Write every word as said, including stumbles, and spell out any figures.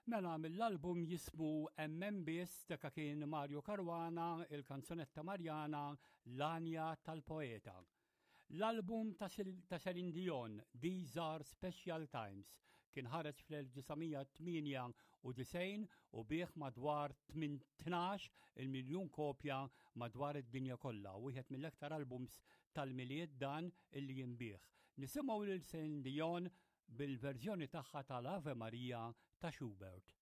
Mela mill-album jismu Emmen Biss dak kien Mario Caruana, il-kanzunetta Marjana, L-Għanja tal-Poeta. L-album ta' Celine Dion, These Are Special Times, kien ħareġ fl-elf disa' mija tmienja u disgħin u biegħ madwar tnax il-miljun kopja madwar id-dinja kollha. Wieħed mill-aktar albums tal-Milied dan illi jinbiegħ. Nisimgħu lil Celine Dion bil-verżjoni tagħha tal-Ave Maria ta' Schubert.